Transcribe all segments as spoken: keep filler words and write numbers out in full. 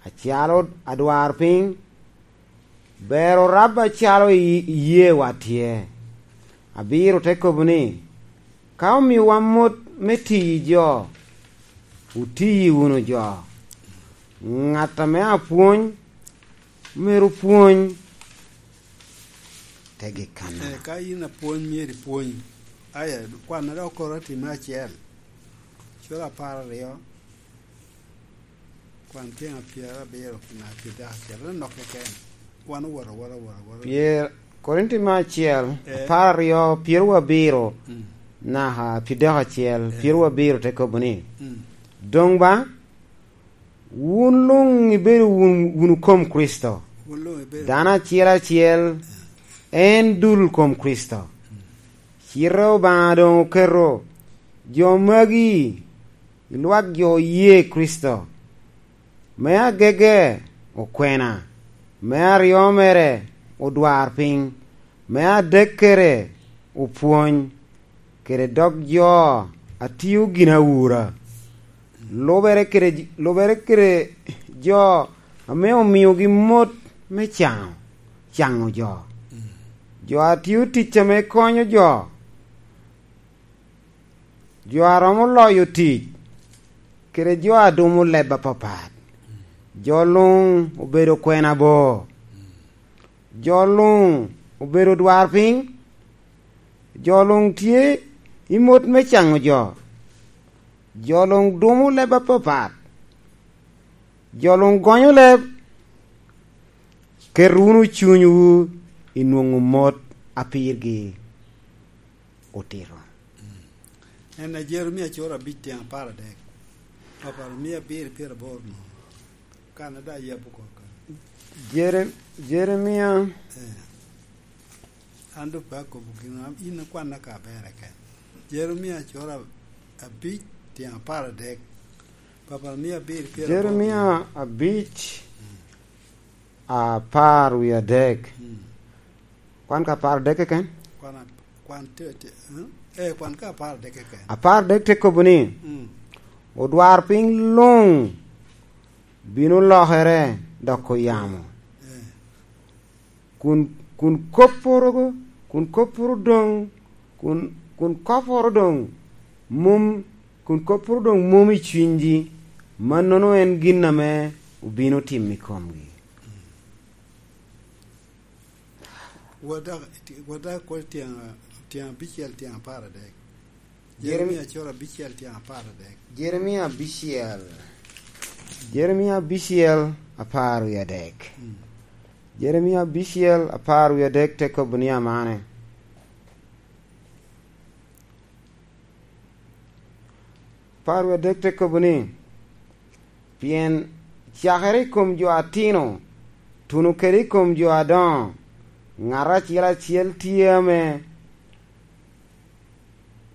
acalo adwarpiny, ber orab acalo i-, iyeewa tye. Abiro te kobo ni, ka omiowa mot me tiyi jo, otiyi wunu jo. Ŋat ame apwony, myero pwony tegi kanna. Eh, ka in apwony, myero ipwony. Aya, kwanna dok okoro time acel. Cura apar aryo. Kwan tyen apyerabiro na pyerabiro acel, anok keken. Wan owoto, owoto, owoto, owoto. Pyer-, Korinti me acel, eh, apar aryo, pyerabiro, mm, naka pyerabiro acel, eh, pyerabiro te kobo ni, mm, "Doŋ ba, wun luŋ ibedo wun, wunu kom Kricito. Wun luŋ ibedo dano acel acel, eh, en dul kom Kricito." Mm. Cite Obaŋa doŋ oketo jo magi i lwak jo oye Kricito, me agege okwena, me aryo mere odwarpiny, me adekkere opwony, kede dok jo a tio ginawura, lubere kede, lubere kede jo ame omiogi mot me caŋo, caŋo jo, jo a tio tic ame konyo jo, jo a romo loyo tic, kede jo a dumo leb apapat. Jo luŋ obedo kwena bo. Jo luŋ obedo odwarpiny. Jo luŋ tye i mot me caŋo jo. Jo luŋ dumo leb apapat. Jo luŋ gonyo leb. Ket wunu cunywu i nwoŋo mot a pirgi otito. En a Jeremia cura abic tyen apar adek. Papa, mia abiro pyeraboro no. Kan a daŋ yabo oko kan. Jere-, Jeremia. Eh. An dok pe akobo gin, in ikwanna ka berre ken. Jeremia cura abic tyen apar adek. Papa, mia abiro pyeraboro. Jeremia abic, mm, apar wie adek. Mm. Kwan ka apar adek keken? Kwan a-, kwan te, te, eh? Eh, kwan ka apar adek keken. Apar adek te kobo ni, mm, "Odwarpiny luŋ bino lokere doko yamo." Eh. Kun, kun kopporo, kun kopporo doŋ, kun, kun kopporo doŋ mom, kun kopporo doŋ mom i cunygi, mannono en gin ame obino timo i komgi. Wada, wada kwo tyen, tyen abicel, tyen apar adek. Jeremi- Jeremia cura abicel tyen apar adek. Jeremia abicel. Jeremia abicel apar wie adek. Mm. Jeremia abicel apar wie adek te kobo ni amane. Apar wie adek te kobo ni, "Pien cakere i kom jo atino, tuno kede i kom jo adoŋo, ŋat acel acel tye ame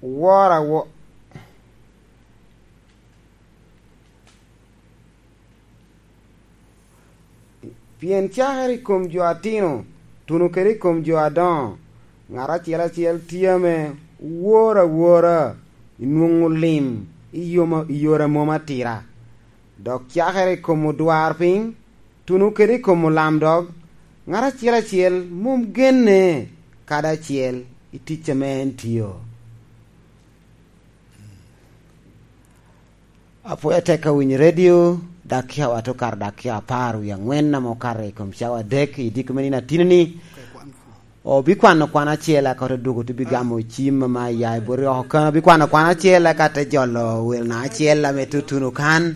woro awo-, pien cakere i kom jo atino, tuno kede i kom jo adoŋo, ŋat acel acel tye ame woro awora i nwoŋo lim i yoma-, i yore a mom atira, dok cakere i kom odwarpiny, tuno kede i kom olamdog, ŋat acel acel mom genne kadi acel i tic ame en tio." Apweo atek awinyo redio, dakika wa te okato dakika apar wie aŋwen ame okato i kom cawa adek i diko me nino atino-ni. Obikwano kwan acel, eka te dwogo te bigamo cim ame aya i bot oko kano. Obikwano kwan acel, eka te jolo welna acel ame tutuno kan.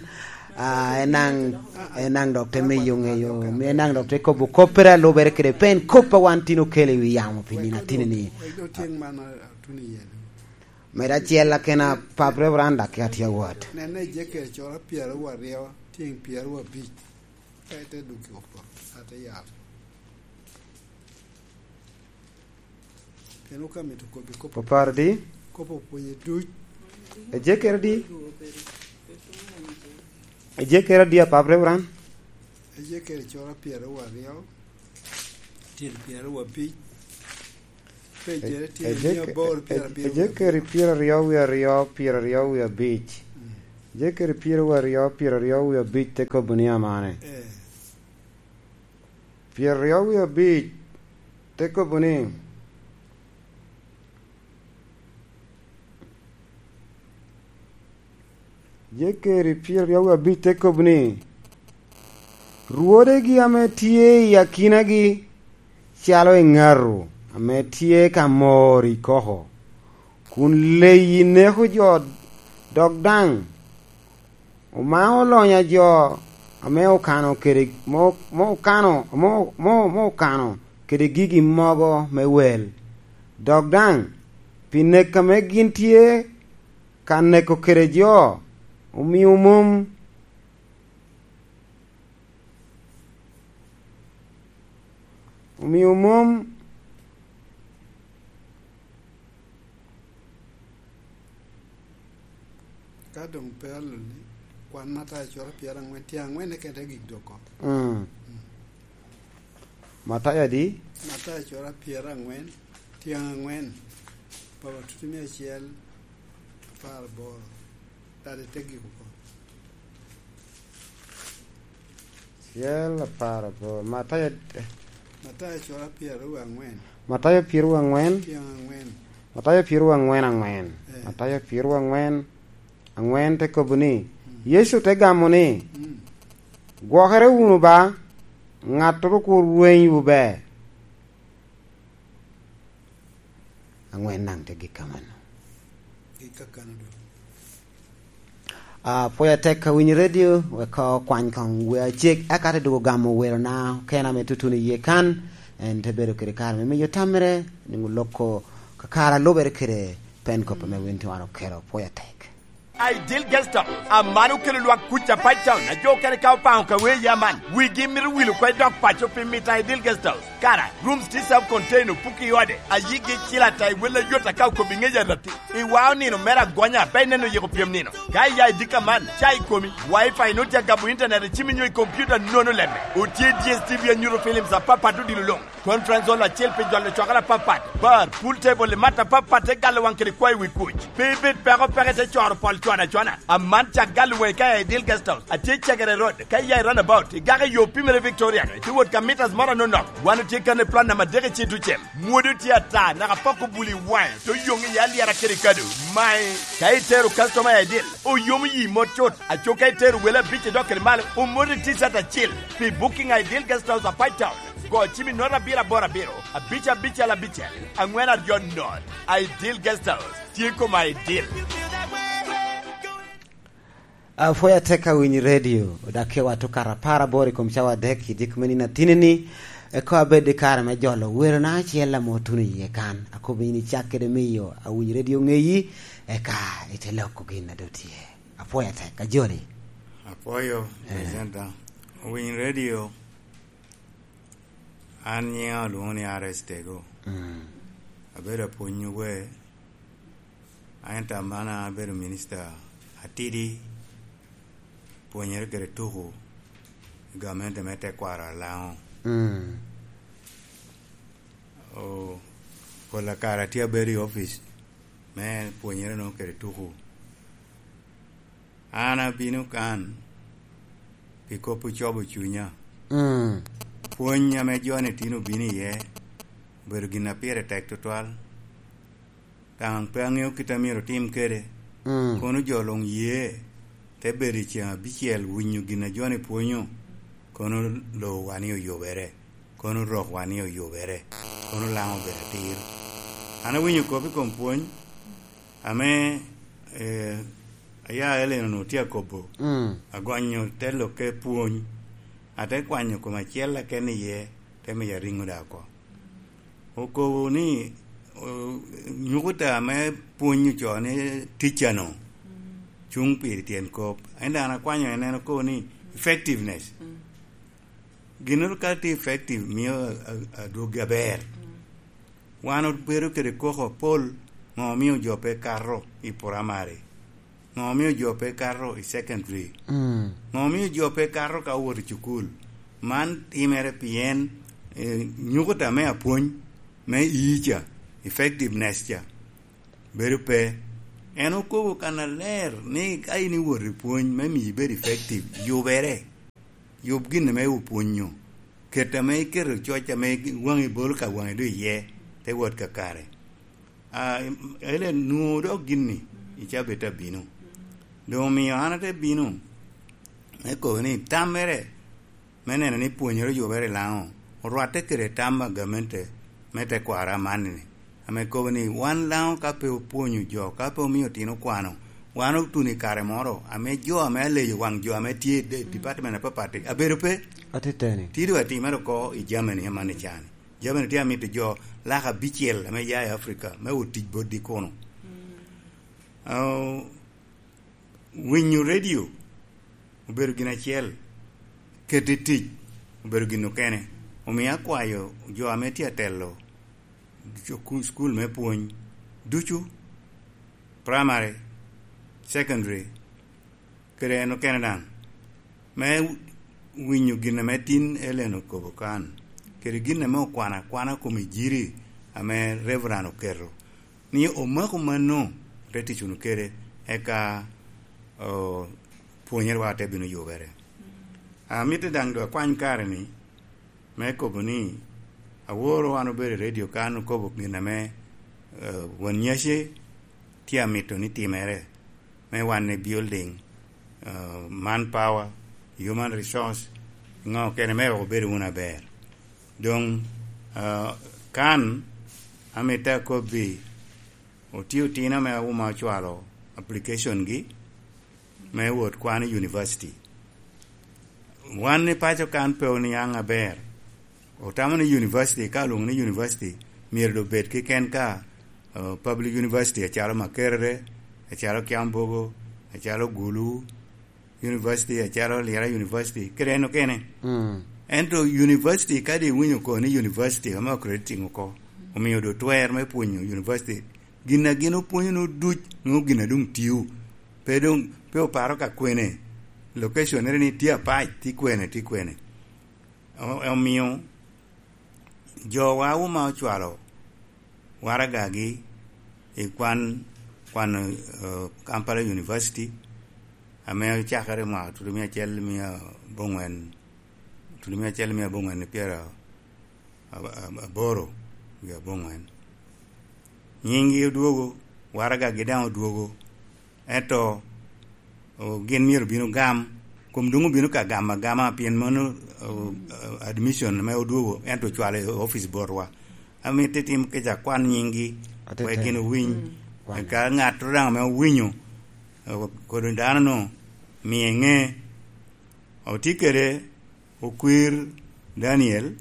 Ah, en daŋ, en daŋ dok te miyo ŋeyo, en daŋ dok te kobo koppere a lubere kede pe en kop a wan tin okelo i wi yamo pi nino atino-ni. Wek dok tyeng man, ah, tuno iye. Med acel akena, Pap Reverend, dakika tye awot. Nene Ejekiel cura pyeraryo aryo, tyen pyeraryo abic. Ka ite duk i oko, ate yal. Pien wok amito kobbi kop. Oparo di? Kop opwonye duc. Ejekiel di? Ejekiel di, Pap Reverend? Ejekiel cura pyeraryo aryo, tyen pyeraryo abic. Pejere tye Ejek-, mia aboro pyerabiro wie Ejekeri abiro. Pyeraryo wie aryo, pyeraryo wie abic. Mm. Jekeri pyeraryo, pyeraryo wie abic te kobo ni amane. Eh. Pyeraryo wie abic te kobo ni, Jekeri pyeraryo wie abic te kobo ni, "Rwodegi ame tye i akinagi calo eŋato ame tye ka mor i koko, kun leyi neko jo, dok daŋ omao lonya jo ame okano kede, mo, mo okano, mo, mo, mo okano kede gigi mogo me wel, dok daŋ pi nek ame gin tye ka neko kede jo, omio mom, omio mom." Ka doŋ pe aloni, kwan Matayo cura pyerangwen, tye aŋwen keken te gik doko. Mm. Mm. Matayo adi? Matayo cura pyerangwen, tye aŋwen, papa tuti me acel, apar aboro. Kadi te gik oko. Acel, apar aboro. Matayo, Matayo cura pyeraryo aŋwen. Matayo pyeraryo aŋwen. Tye aŋwen. Matayo pyeraryo aŋwen aŋwen. Eh. Matayo pyeraryo aŋwen aŋwen te kobo ni, mm, Yecu te gamo ni, mm, "Gwokere wunu ba, ŋattoro kur rwenywu ber." Aŋwen daŋ te gik kamano. Gik kakano doŋ. Ah, pwoyo atek ka winyo redio, wek okwany koŋ wer acek, eka te dwogo gamo werona okene ame tutuno iye kan, en te bedo kede kare me miyo tamere, nwoŋo loko kakare a lubere kede pen kop ame win tye wan okelo. Pwoyo atek. Ideal Guest House, aman okelo lwak kuc a Pine Town, a jo okene ka opaŋo ka wer iye aman, wigi mito wil oko i dok paco pi mito a Ideal Guest House. Kara, rooms tye self contained, opuki i ode, a yigi icil ata i wel ayot aka okobo i ŋec aratti. Iwao nino mere agonya, pe ineno yiko pyem nino. Ka iya i dika man, ca i komi, Wi-Fi nwoŋo tye agamo internet i cimi nyo i kompiuta nono lemme. Otye D S T V a nyuto films apapat odilo luŋ. Conference hall acel pi jolo cokere apapat, bar, pool table, i mat apapat te galo waŋ kede kwayo wi kuc. Pe ibed peko peke te coro pol cwana cwana. Aman cak galo waŋi ka i Ideal Guest House. Atye i Cegere Road, ka iya i roundabout, igako i yo pimere Victoria, itye wot ka meters moro anonok. Wan otye kan i plot namba adek i Citucem. Mwodo tye ata, naka pok obuli waŋe, to yoŋ iye alyera kede kado. Mae, ka itero customer i Ideal, oyomo yi mot cut. Aco ka itero wele abic i dok kede malo, omoto i T-shirt acel. Pi booking a Ideal Guest House a Pine Town, go cim i note abiro aboro abiro, abic abicel abicel, aŋwen aryo note. Ideal Guest House, tye kom Ideal. Apwoyo atek ka winyo redio, odakke wa tukato apar aboro i kom cawa adek i diko me nino atinni, eko abed i kare me jolo werona acel ame otuno iye kan. Akobo in icak kede miyo awinyo redio ŋeyi, eka ite loko gin a doŋ tye. Apwoyo atek, ajoli. Apwoyo, eh, presenter. Owiny redio, an nyiŋa olwoŋo ni R S Tego. Mm. Abedo apwony wer, ento aman abedo minista atidi, pwonyere kede tuku i gamente me tekwaro Alaŋo. Mm. O, pol kare atye abedo i opic me pwonyere nwoŋo kede tuku. An abino kan pi kop ocobo cunya. Mm. Pwony ame jo-ni tin obino iye obedo gin a pire tek tutwal. Daŋ pe aŋeo kit a myero otim kede. Mm. Kono jo luŋ ye te bedo i ceŋ abicel winyo gin a jo-ni pwonyo, kono lowa ni oyubere, kono rokwa ni oyubere, kono Laŋo obedo atir. An awinyo kop i kom pwony ame, eh, aya Ellen onwoŋo tye akobo. Mm. Agonyo te lokke pwony, ate kwanyo kom acel aken iye, te miyo ariŋo daŋ oko. Okobo ni, o, nyukuta me pwony ocoo ni teacher-nu cuŋ pi tyen kop. Ento an akwanyo en, en okobo ni effectiveness. Mm. Ginnoro ka tye effective, mio a, a, adwoggi aber. Mm. Wan obedo kede koko apol, ŋo omio jo pe kato i primary? Ŋo omio jo pe kato i secondary? Mm. Ŋo omio jo pe kato ka owot i cukul? Man timere pien, eh, nyukuta me apwony me ii ca, effectiveness ca, bedo pe. En okobo kannaler ni ka in iwot i pwony me miyo ibed effective, yubere. Yub gin ame opwonyo. Ket ame iketo coc ame waŋi bolo ka waŋi doŋ iye, te wot kakare. A, ele nwoŋo dok gin-ni i cabit abino. Doŋ omio an ate bino me kobo ni tammere me neno ni pwonyere oyubere i Laŋo orwatte kede tam a gamente me tekwaro amanni-ni, ame kobo ni wan Laŋo ka pe opwonyo jo, ka pe omio otino kwano, wan otuno i kare moro ame jo ame aleyo waŋ jo ame tye i de-, department apapat abedo pe. Atiteni. Tye doŋ atimere oko i Germany amanni cani. Germany tye amito jo laka abicel ame ya i Africa me otic botgi kuno. Ah, winyo redio obedo gin acel, kete i tic obedo gin okene. Omio akwayo jo ame tye atelo cu-, cukul me pwony ducu, primary, secondary, kede en okene daŋ, me winyo gin ame tin Ellen okobo kan, kede gin ame okwano akwana kom ejiri ame Reverend oketo, ni omako mano, te tic wunu kede, eka, o, pwonyerwa te bino yubere. Amito daŋ doŋ akwany kare-ni, me kobo ni, aworo an obedo i redio kan, okobo gin ame, eh, won nyaci tye amito ni timere, me wan i building, eh, manpower, human resource, ŋo kene me wek obedo wunu aber. Doŋ, eh, kan, amito akobbi, otye otino ame awuma ocwalo application-gi me wot kwano i university. Wan i paco kan pe oniaŋ aber. Otamo ni university, ka olwoŋo ni university, myero doŋ bed keken ka, uh, public university acalo Makerere, acalo Kyambogo, acalo Gulu University, acalo Lira University, kede en okene. Mm. Ento university, kadi iwinyo ko ni university, ame accrediting oko, omio doŋ twer me pwonyo university. Gin a gin opwonyo ni oduc, nwoŋo gin a doŋ tio. Pe doŋ, pe oparo ka kwene. Location-nere ni tye apac, tye kwene, tye kwene. O-, omio jowa wuma ocwalo waragagi i kwan, kwan, eh, Kampala University, ame ocakere i mwaka tutumia acel mia abongwen, tutumia acel mia abongwen i pyera ab-, ab-, aboro wie abongwen. Nyinggi odwogo, waragagi daŋ odwogo, ento, o, gin myero obin ogam, kom doŋ obino ka gamo agama, pien mano, o, admission ame odwogo, ento ocwalo i opic botwa. Amito itim kica, kwan nyinggi, wek gin owiny. Mm. Ka ŋat daŋ ame owinyo, o, kodi dano-nu, mie ŋe. Otye kede okwir Daniel,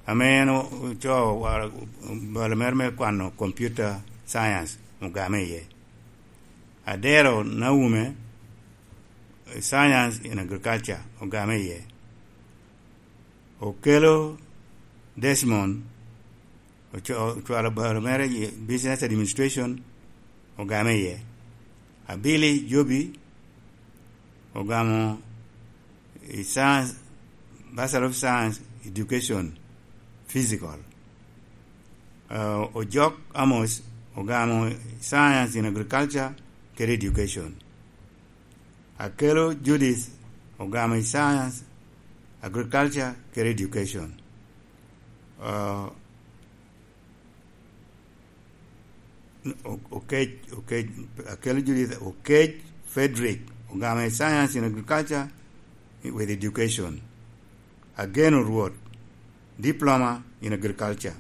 ame en o-, ocoo wa-, balo mere me kwano computer science, ogame iye. Adero Naume, science in agriculture, ogame iye. Okelo Desmond, oco-, ocwalo balo mere i business administration, ogame iye. Abili Jobi ogamo i science, Bachelor of Science, Education, Physical. Uh, Ojok Amos ogamo Science in Agriculture kede Education. Akelo Judith ogamo i Science, Agriculture kede Education. Uh, O-, Okec, Okec, Akelo Judith, Okec Frederick, ogamo i Science in Agriculture with Education. Ageno Rwot, Diploma in Agriculture.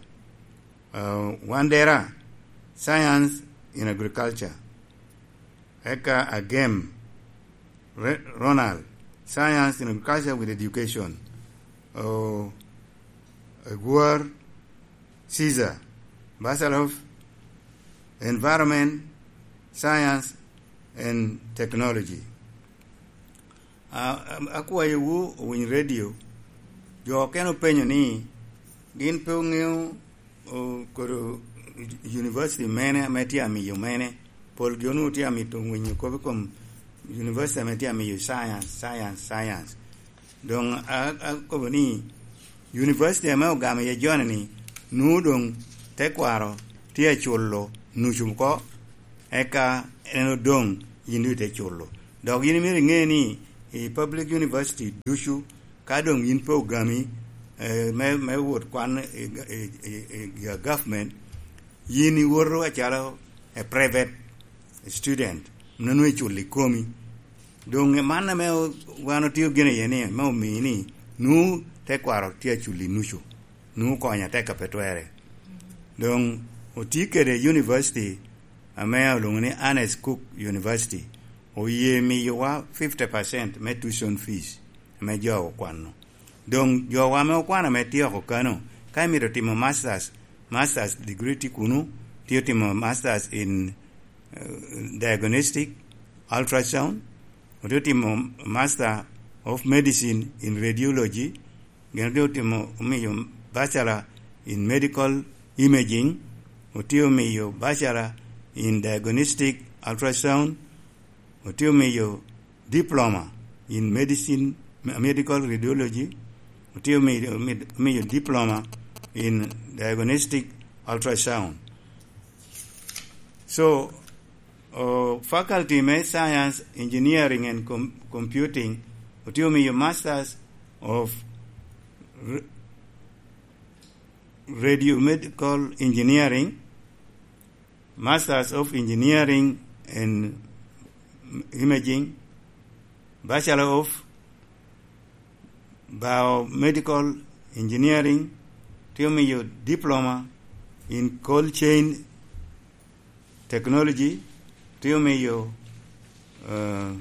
Uh, Wandera, Science in Agriculture. Eka Agem Re-, Ronald, Science in Agriculture with Education. Uh, Agwar Caesar, Bachelor of Environment, Science and Technology. A-, a-, akwayowu owiny redio. Jo okene openyo ni gin pe oŋeo, o, kodo university mene ame tye amiyo mene. Polgi onwoŋo tye amito winyo kop i kom university ame tye amiyo science, science, science. Doŋ a-, akobo ni, university ame ogamo iye joni-ni, nwoŋo doŋ tekwaro tye aculo nucu oko, Eka en odoŋ yin doŋ ite culo. Dok yin myero iŋe ni i public university ducu, ka doŋ yin pe ogami, eh, me, me wot kwan i, i, i, i government, yin iwoto acalo a private student, nonwu iculo i komi. Doŋ man ame o-, wan otio gin iye ni, me omii ni, nwu tekwaro tye aculo i nucu, nwu konyo atek a pe twerre. Doŋ otye kede university ame olwoŋo ni Ernest Cook University, oye miyowa fifty percent me tuition fees ame jo okwano. Doŋ jowa ame okwano ame tye oko kano, ka imito timo masters, masters degree tye kunu, tye otimo masters in, eh, diagnostic ultrasound, otye otimo master of medicine in radiology, gin otye otimo, omiyo bachelor in medical imaging, otye omiyo bachelor in diagnostic ultrasound, otye omiyo diploma in medicine, me-, medical radiology, otye omiyo, omiyo diploma in diagnostic ultrasound. So, oh, faculty me science, engineering and com-, computing, otye omiyo masters of r-, radiomedical engineering, masters of engineering and imaging, bachelor of biomedical engineering, tye omiyo diploma in cold chain technology, tye omiyo, uh,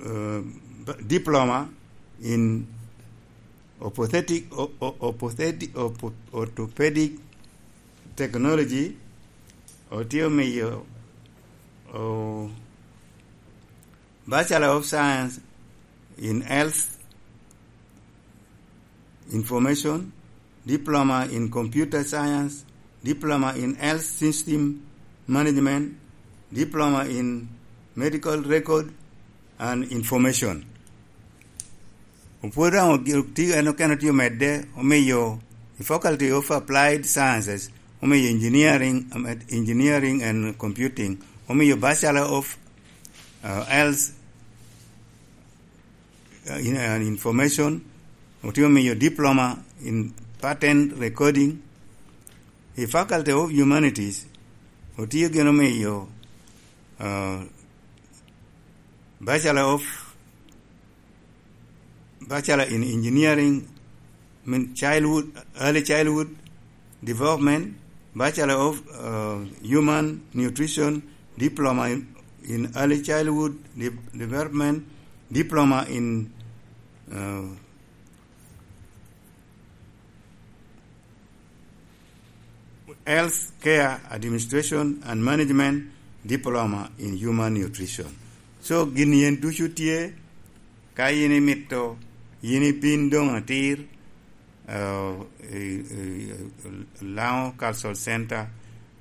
uh, diploma in orthotic, o-, o-, orthotic, ortho-, orthopedic technology, otye omiyo, oh, Bachelor of Science in Health Information, Diploma in Computer Science, Diploma in Health System Management, Diploma in Medical Record and Information. Opwod daŋ oti-, en okene otye omedde, omiyo i Faculty of Applied Sciences, omiyo Engineering, um, Engineering and Computing, omiyo Bachelor of, uh, Health, uh, in, uh, Information, otye omiyo Diploma in Patent Recording. I Faculty of Humanities, otye gin omiyo, uh, Bachelor of Bachelor in Engineering, I mean, childhood, early childhood development, Bachelor of, uh, Human Nutrition, Diploma in, in Early Childhood De-, Development, Diploma in, uh, Health Care Administration and Management, Diploma in Human Nutrition. So, gin yen ducu tye, ka yin imito, yin ibin doŋ atir, uh, i, i, i Lango Cultural Center.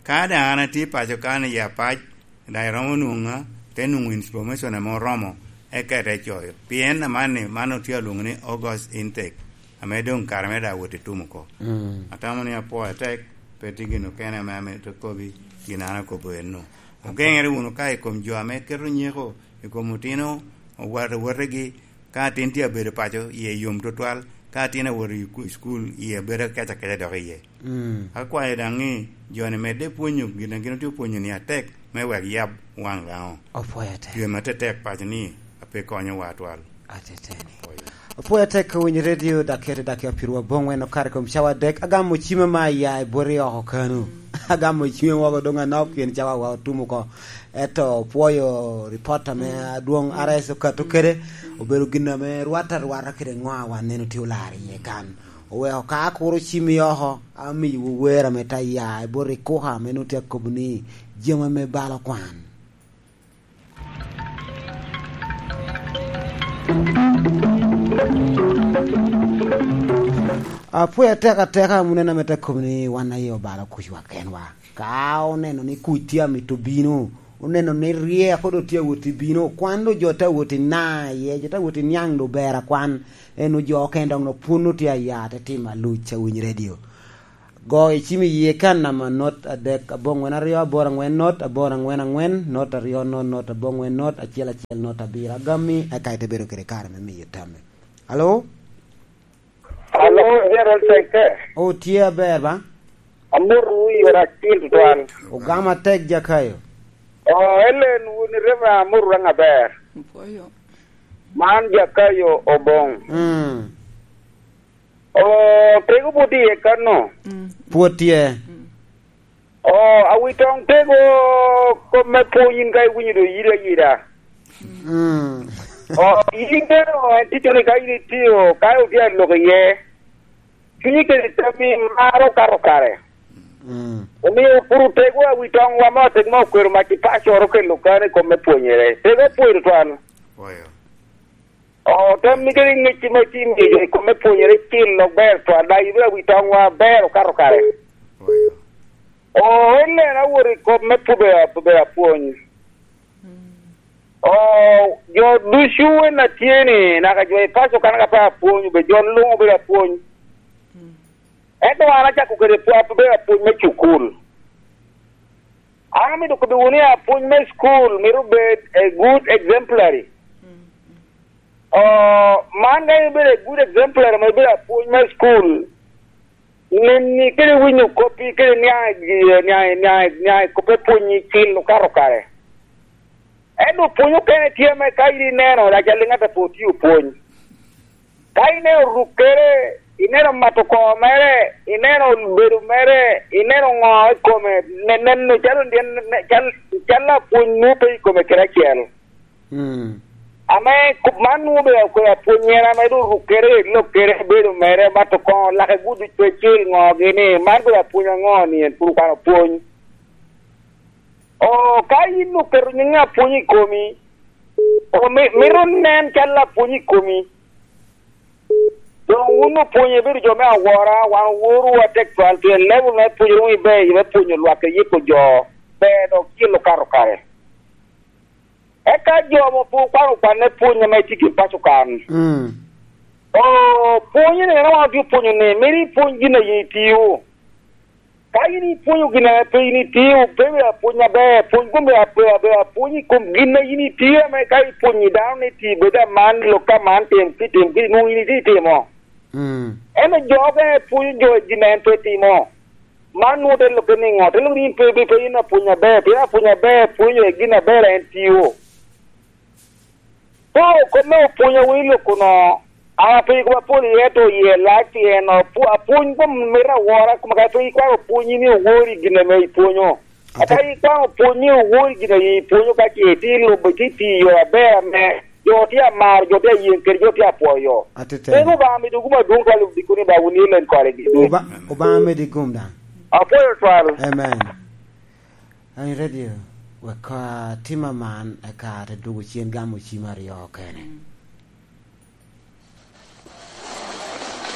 Ka daŋ an atye paco kan i Apac, daŋ iromo nwoŋa, te nwoŋo information ame oromo, eka ite coyo. Pien amanni, man otye alwoŋo ni August intake, ame doŋ kare me daŋ wot i tum oko. Mm. Atamo ni apwoyo atek, pe tye gin okene ame amito kobi, gin an akobo enno. Ogeŋere wunu ka i kom jo ame keto nyeko i kom otino, owat-, owategi, ka atin tye abedo paco, iye yom tutwal, ka atin awoto i ku-, cukul, iye bedo akeca akeca dok iye. Mm. Akwayo daŋ ni jo-ni medde pwonyo gin a gin otye opwonyo-ni atek me wek yab waŋ Lango. Opwoyo atek. Pyem atetek paco ni ape konyowa atwal. Ateteni. Opwoyo. Opwoyo atek ka winyo redio, dakika tye dakika pyeraryo aboŋwen okato i kom cawa adek. Agamo cima ma aya i bwoti oko kanu. Agamo cima woko doŋ anok pien cawa wa otum oko. Ento opwoyo ripot ame adwoŋ R S okato kede, obedo gin ame rwatte arwata kede ŋo a wan neno tye olaro iye kan. Oweko ka akuro cim i oko, amiyowu wer ame te ya i bot ikuka ame nwoŋo tye akobo ni, "Jami ame balo kwan." Apwoyo atek ateka, wun en ame te kobo ni wan aye obalo kucwa kenwa. Ka oneno ni kuc tye amito bino, oneno ni ryeko doŋ tye awot i bino, kwan doŋ jo tye awot i na iye, jo tye awot i niaŋ doŋ ber akwan. En ojo okene doŋ no pwon otye aya te timo aluc a winy redio. Go icim i yie kan namba not adek, aboŋwen aryo, aboro aŋwen not, aboro aŋwen aŋwen, not aryo not, not aboŋwen not, acel acel not abiro. Agammi, eka ite bedo kede kare me miyo tammi. Alo? Alo, Gerald Teke. O, tye aber ba? Amotowu i ot acil tutwal. Ogamo atek, Jakayo. O, Ellen, wun i Reverend, amotowu daŋ aber. Opwoyo. Man Jakayo Oboŋ. Mm. O, tego pwod tye kano. Mm. Pwod tye. Mm. O, awitoŋ tego kop me pwony in ka iwinyo doŋ iyide ayida. Mm. O, yin bene o, en ticco ni ka in itio, ka otye alok iye, cunyi kede tammi maro kato kare. Mm. Omio pur otego awitoŋwa me otek me okwero mac i pacoro kelo kano i kom me pwonyere. Tego opwoyo tutwal. Oyo. O, tammi kede ŋec ma itye miyo jo i kom me pwonyere cil lok ber twal, daŋ ibino awi toŋwa ber okato kare. Oyo. O, en nen awot i kom me pube, pube apwony. O, jo ducu en a tye ni, naka jo i paco kan ka pe apwony, obe jo luŋ obedo apwony. Ento an acako kede pw-, abedo apwony me cukul. An amito kobbiwu ni apwony me cukul mito bed a good exemplary. O, man ka ibedo a good exemplary, ma ibedo apwony me cukul, neni kede winyo koppi, kede niaŋ i gi-, niaŋ, niaŋ, niaŋ i kop me pwony i cil okato kare. Ento pwony okene tye ame ka in ineno, lac aliŋ ata pe otio pwony. Ka ineno rukkere, ineno mato koo mere, ineno bedo mere, ineno ŋo i kome, ne-, neno calo tyen, ne-, cal-, cal apwony nwoŋo pe i kome kede acel. Mm. Ame kup man nwoŋo obedo akwero apwony en ame doŋ rukkere, lokkere, bedo mere, mato koo, lake gudo pe cil ŋo gini, man obedo apwony aŋo ni en pur okwano pwony? O, ka in oketo nyiŋ apwony i komi, o, mi-, mito nen cal apwony i komi. Doŋ wun opwonyo ibedo jo me awora, wan oworwu atek twal, pien level me pwonyere wun iber, me pwonyo lwak i yiko jo, ber dok cil okato kare. Eka jo mo pwod okwano kwanne pwony ame tye ki paco kan. Mm. O, pwony ni, en wan otye pwonyo ni, mito ipwony gin a yin itio. Ka in ipwonyo gin a pe in itio, pe bedo apwony aber, pwony kom bedo ape-, ape-, apwony i kom gin a in itio, ame ka ipwonyo dano ni ti bedo aman, lok ka man, tim ki, tim ki, nwoŋo in itye itimo. Mm. Ento jo okene pwonyo jo i gin a en pe timo. Man nwoŋo te lobbe niŋo? Te lobbe ni in pe, pe, pe in apwony aber, pien apwony aber pwonyo i gin aber a en tio. Pe kop me opwony a winy lok kuno, an apenyo kop apol iye, to iye lac pien apw-, apwony kom mito awora, kom ka pe ikwano pwony ni owori gin ame ipwonyo. Ate- Aka ikwano pwony ni owori gin ame ipwonyo, ka ce itye lubo, itye tiyo aber ame jo tye amaro, jo tye ayen kede, jo tye apwoyo. Atete. Pien Obaŋa mido gum adwoŋ twal i dikoni ba wun i len kore gi. Oba-, Obaŋa medi gum daŋ. Apwoyo twal. Amen. An i radio, wek atim aman, eka te dwogo cen gamo cim aryo okene.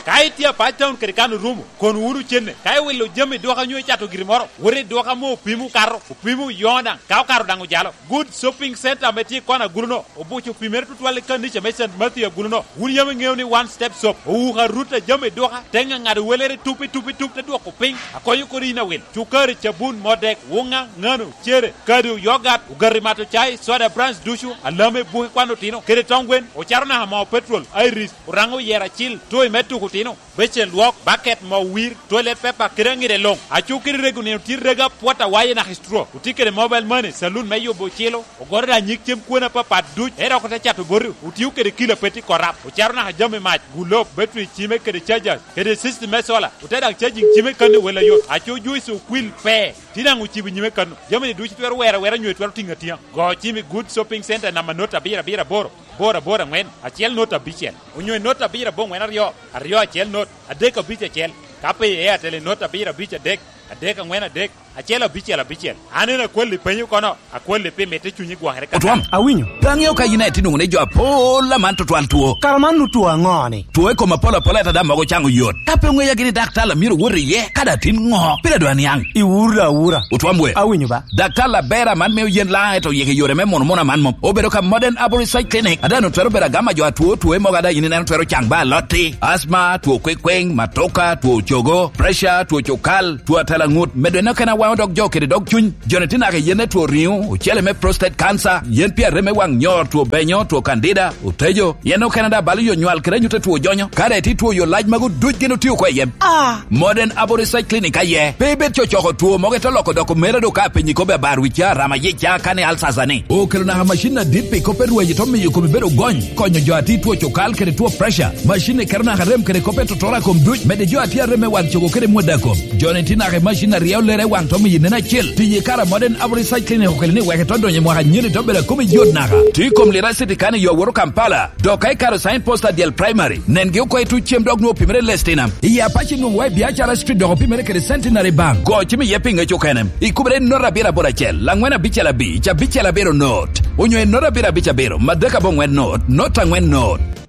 Ka itye a Pac Town kede kan orumo, kono wunu cenne. Ka iwilo jami i duka nyo icato giri moro, wot i duka ame opimo okato, opimo oyoŋo daŋ, ka okato daŋ ojalo. Good Shopping Center ame tye i kona agulu-no, obuco opimere tutwal i kanica me Saint Matthew agulu-no. Wun yam iŋeo ni One Step Shop owuko arut a jami i duka, te ŋaŋado welere tup i tup i tup, te dwoko piny, akonyo kodi in awil. Cukari, cabun, modek, wuŋa, ŋano, cere, kado, yogat, ogati mato cai, soda, brands ducu, alame, buke kwan otino, kede tong gwen, ocato naka moo petrol, Iris, oraŋo oyero acil, toy me tuko otino, becen lwok, baket, moo wir, toilet paper, kede aŋide luŋ. Aco kede rego nino tye rego apwot awaye naka i straw. Otye kede mobile money, saloon me yubo ocilo, ogoto daŋ nyig cem kwone apapat duc, ento dok ote cato boti, otio kede kilo apet i korap, ocato naka jami mac, gulob, battery cime kede chargers, kede system me solar, ote daŋ charging cime kano i wel ayot. Aco juice okwil pe, tye daŋ ocibo i nyime kano. Jami-ni ducu twero wero awera nyo twero tiŋo atiŋa. Go cim i Good Shopping Center namba not abiro abiro aboro, aboro aboro aŋwen, acel not abicel, onyo i not abiro aboŋwen aryo, aryo acel not, adek abic acel, ka pe i Airtel i not abiro abic adek, Adek, angwen, adek, acel, abicel, abicel. An en akwalli penyo kono, akwalli pi mitte cunyi gwokere ka. Otwam. Awinyo. Pe aŋeo ka yin aye tye nwoŋo ni jo apol aman tutwal two. Kara man nu two aŋo-ni? Two i kom apol apol ata daŋ mogo caŋo yot. Ka pe oŋeya gini daktar a myero owot iye, ka daŋ tin ŋo? Pire dwa niaŋ. Iwuro da awura. Otwam we. Awinyo ba. Daktar aber aman mio yen laŋ ento oyiko yore me mono mono aman mom. Obedo ka Modern Arborist Side Clinic. Ada nu twero bedo agama jo atwo two mogo ada yin ineno twero caŋ ba alotti. Asma, two kwekweng, matoka, two cogo, pressure, two cukal, two atela ŋut. Medo en okene awaŋo dog jo kede dog cuny. Joni tye naka i yen me two riŋo, ocele me prostate cancer, yen pi arem me waŋ nyor, two benyo, two candida, otejo. Yen okene da balo yo nywal kede anyutte two jonyo. Kare ti two yo lac mago duc gin otio oko i yen. Ah! Modern Abo Research Clinic aye. Pe ibed cocoko two mogo ito loko doko mera do ka penyi kobe abar wica, rama yica, kane alsasa ni. Okelo naka macin adit pi kop me rweny ito miyo komi bedo gony. Konyo jo ati two cukal kede two pressure. Macin ni keto naka rem kede kop me totora kom duc. Mede jo ati arem me waŋ cogo kede mwada kom. Joni ti naka i macin aryo lere waŋ to miyo nen acel. Tiye kara Modern Abo Research Clinic okelo ni wek ito donyo i mwaka nyeni to bedo akomi yot naka. Ti kom lira city kane yo woro Kampala. Dok ka ikaro sign post adyel primary, nengi oko i tuc cem dok nwoŋo pimere lestinam. I Apache nwoŋo wa i biacara street dok opimere kede Centenary Bank. Go cim iye pi ŋec okene. Ikubere not abiro aboro acel, angwen abicel abic, abicel abiro not. Onyo i not abiro abic abiro, madek abongwen not, not angwen not.